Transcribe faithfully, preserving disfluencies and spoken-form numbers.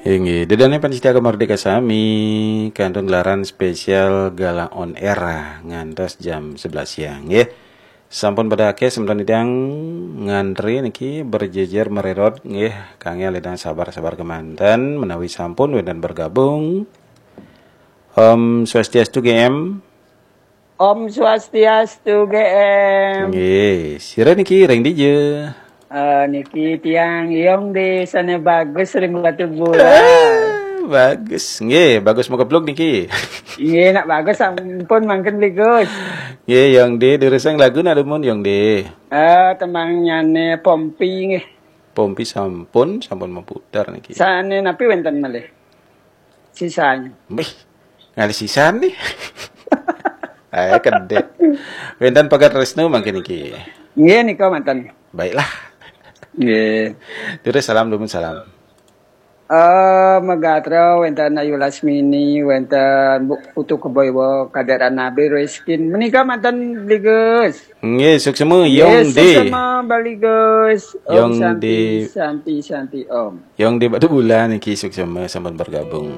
Inggih, ida dané pamiarsa Gema Merdeka sami, kantun gelaran spesial Gala on Air ngantos jam sebelas siang, nggih. Sampun pada akéh semeton titiang ngantri niki berjejer mererot, nggih, kanggé ledang sabar-sabar kémanten menawi sampun wénten bergabung. Om Swastiastu G M. Om Swastiastu G M. Nggih, sira niki ring dija? Eh, niki tiang Yong di sana bagus ring Batu Bulan. Bagus. Nggih, bagus makepluk niki. Nggih, nak bagus sampun mangkin Bli Gus. Nggih, Yong di durusang lagu nak dumun Yong di. Eh, tembangnyané Pompi nggih. Pompi sampun, sampun maputar niki. Sané napi wénten malih? Sisanya. Mbih, ngalih sisan nih. Eh, kedé. Wénten Pagar Tresno mangkin niki. Nggih, nika manten. Baiklah. Nggih. Terus salam dumun salam. Eh, megatra wénten Ayu Lasmini, wénten Bu Putu Keboiwa, Kadék Ranabi Riskin. Menika manten Bli Gus. Nggih, suksema Yong di. Suksema Bli Gus. Om Yong Santi, di. Santi, Santi Om. Yong di Batu Bulan niki suksema sampun bergabung.